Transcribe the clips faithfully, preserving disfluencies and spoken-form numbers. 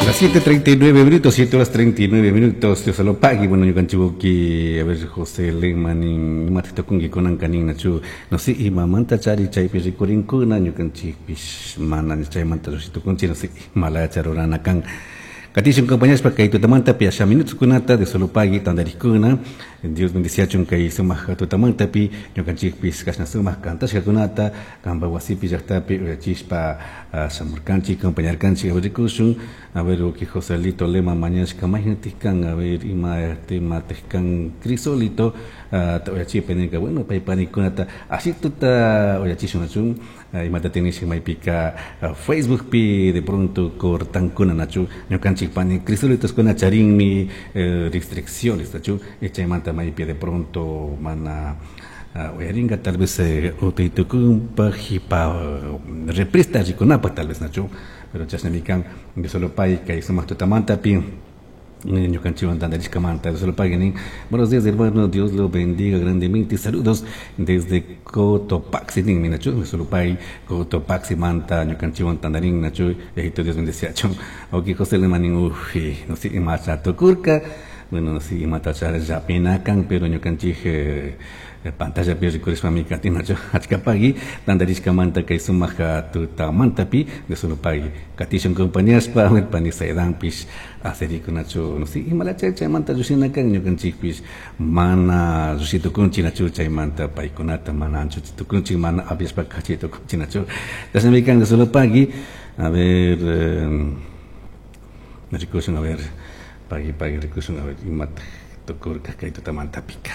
Las siete treinta y nueve minutos, siete horas treinta y nueve minutos, Dios lo pague. Bueno, ñukanchik, a ver, José Lehmann, imata tukunki kunanka ninachu, no sé, imamanta chari chaypi rikurinkuna, ñukanchikpish mana chaymanta tukunchik, no sé, imalacha rurana kan. Katishun compañeros kay tutamantapi asha minutos kunata Dios lo pague tantarikuna. Dios bendiciachun kay sumaq tutamantapi ñukanchikpis kashna sumaq kantashkakunata kanpa wasipi llaqtapi uyachishpa shamurkanchik, acompañarkanchik. A ver, rikushun, a ver, uki Joselito Lema mañashka maynatik kan, a ver, ima tematik kan Crisólito uyachipa ninka. Bueno, pay panikunata ashituta uyachishun nachun imata tinishik maypika Facebookpi de pronto cortankuna nachu ñukanchik pani Crisólitoskuna charinmi restricciones nachu chaymanta maypi de pronto mana uyarinka tal vez utaytukunpaj hipa reprista rikunapaj tal vez nachu, pero chashnami kan. Dios lo pague kay sumaq tutamantapi ñukanchikwan tantarishkamanta. Dios lo pague nin. Buenos días, hermano, Dios lo bendiga grandemente, saludos desde Cotopaxi ninmi nachu. Dios lo pague, Cotopaxi manta ñukanchikwan tantarin nachu. Dios bendeciachun. Ok, José Lemanin, uy, no sé, imacha tukurka. Bueno, no sé, imata llapinakan, pero ñukanchik eh, pantalla pi rikurishpami katinachu. Achkapagui tantarishkamanta kay sumaq tutamantapi. Dios lo pague, katishun compañaspa pani Saidanpish aserikunachu, no sé, imalacha chaymanta llushinakan, ñukanchikpish mana llushitukunchik nachu chaymanta paykunata mana anchuchitukunchik, mana apiashpa kachitukunchik nachu. Chashnami kan. Dios lo pague. A ver, eh, rikushun, a ver, pagui, pagui, rikushun, a ver, imata tukurka kay tutamantapika.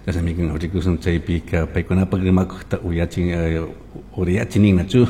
Chashnami kan. Rikushun chaypika paykunapak rimakukta uyachin uriyachinin nachu.